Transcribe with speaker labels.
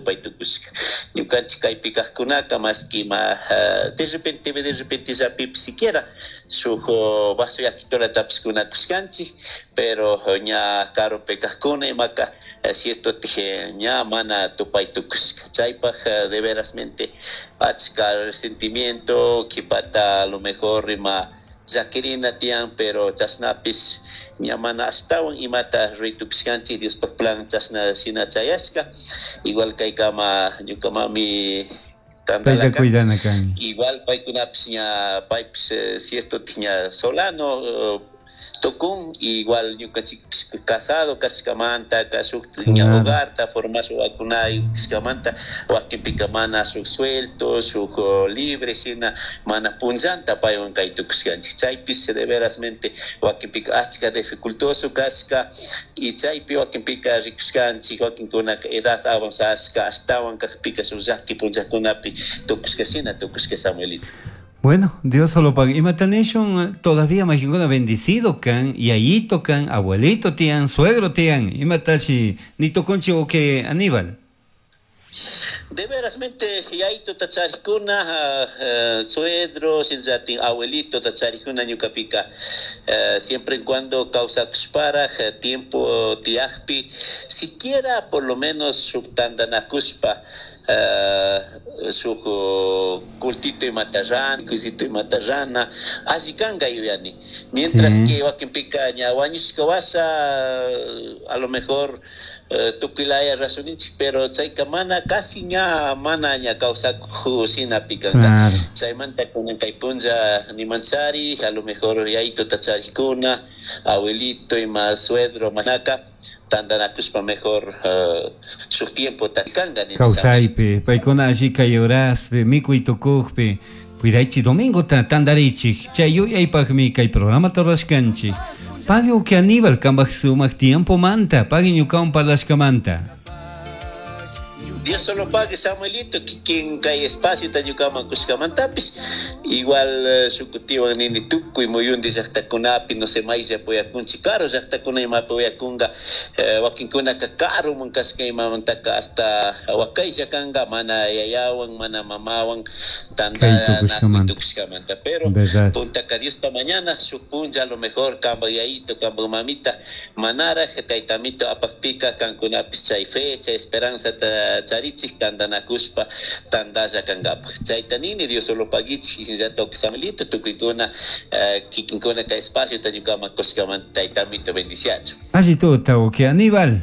Speaker 1: tupai tukushka. Ñukanchik kaypi kajkunaka maski ima de repente de repente llapipi siquiera shuk vaso yakitulatapis kunakushkanchik, pero ña karupi kajkuna imaka cierto ña mana tupay tukushka. Chaypaj de verasmente achka resentimiento, qhipata a lo mejor ima llakirina tiyan, pero chashnapis ña mana ashtawan imata ruray tukushkanchik Diospaj plan chashna shina chayashka. Igual kaykama ñuka mami
Speaker 2: Payta cuidana kan.
Speaker 1: Igual paykunapis ña paypis cierto ña solano tukun, igual ñukanchikpis casado kashkamanta, shuk ña hogarta formash wawakunayuk kashkamanta wakinpika mana shuk suelto, shuk libre shina mana punllanta paywan kay tukushkanchik. Chaypis de verasmente wakinpika achka dificultoso kashka y chaypi wakinpika rikushkanchik wakinkunaka edad avanzashka ashtawan kajpika shuk llaki punllakunapi tukushka shina tukushka, Samuelito.
Speaker 2: Bueno, Dios solo paga. Imata nishun todavía mayqinkuna bendecido kan, yayito kan, abuelito tiyan, suegro tiyan. Imatashi ni tukunchik uki Aníbal.
Speaker 1: De verasmente yayituta charikuna, suegro, shinallatik abuelitota charikuna ñukapika siempre en cuando kawsakushparaj tiempo tiyakpi siquiera por lo menos shuk tantanakushpa shuk cultito imata rana, cusito imata rana, alli kanka yuyani. Mientras que wakinpika ña wañushka washa a lo mejor tukuy laya razoninchik, pero chayka mana casi ña mana ña kawsakuj shinapi kanka. Chaymanta kunan kay punlla nimanchari, a lo mejor yayituta charikuna, abuelito ima suegro manaka tantanakushpa mejor shuk tiempota kanka nini.
Speaker 2: Kawsaypi, paykuna alli kay horaspi, mikuy tukukpi, cuidaychik domingota tantarichik, chay yuyaypaqmi kay programata rurashkanchik. Pagui uki Aníbal kambaj sumak tiempomanta, pagui ñukawan parlashkamanta.
Speaker 1: Dios solo pague, Samuelito, kikin kay espacio ta ñukaman kushkamantapis, igual shukutiwan nini tukuy muyundi llaqtakunapi, no sé, maylla puyakunchik, karu llaqtakuna imapi uyakunqa, wakinkunaka karuman kashka imamantaka hasta wakaylla kanqa, mana yayawan, mana mamawan tantanakuy tukushkamanta, pero puntaka Diosta mañana, shuk punlla a lo mejor kambaj yayito, kambaj mamita, manaraj taytamito apakpika kankunapis chay fe, chay esperanzata charichik tantanakushpa tantalla kankapaj. Chayta nini Dios solo paguichik, shinallatak Samuelito tukuykuna kikinkuna kay espacio ñukaman kushkamanta taytamito bendiciachu.
Speaker 2: Alli tuta, uki Aníbal.